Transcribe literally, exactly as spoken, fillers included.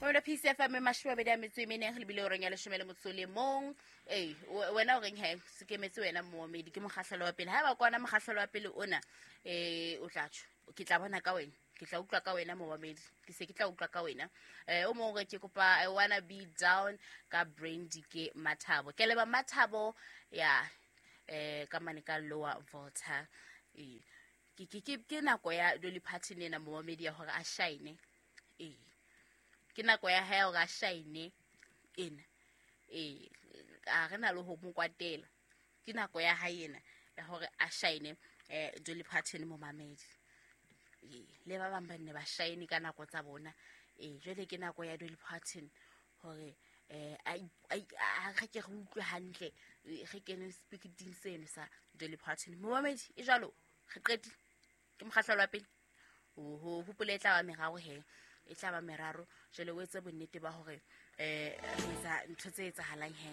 Mamela P C F M mashome a mabedi a metso e mene re lebile horeng ya leshome le motso le mong. Ee, wena o reng he se kemetse wena moomedi ke mokgahlelo wa pele. Haeba kwana mokgahlelo wa pele ona eh o tla tjho, ke tla bona ka wena, ke tla utlwa ka wena moomedi, ke se ke tla utlwa ka wena. Eh o mong re ke kopa I wanna be down ka Brandy ke Mathabo. Ke leba Mathabo ya eh ka mane ka Lower Volta. Eh ke ke ke ke nako ya Dolly Parton ena moomedi ya hore a shine. Eh ke nako ya hae hore a shine ena. Eh a re na le ho mo kwatela. Ke nako ya hae ena ya hore a shine eh Dolly Parton momamedi. Eh le ba bang ba nne ba shine ka nako tsa bona. Eh jwale ke nako ya Dolly Parton hore eh a a re ke re utlwe hantle re kene speaking seno sa Dolly Parton momamedi. E jwalo re qetile ke mokgahlelo wa pele. Oho hopole e tla ba meraro he, e tla ba meraro. Jwale o etse bonnete ba hore eh re etsa ntho tse etsahalang he.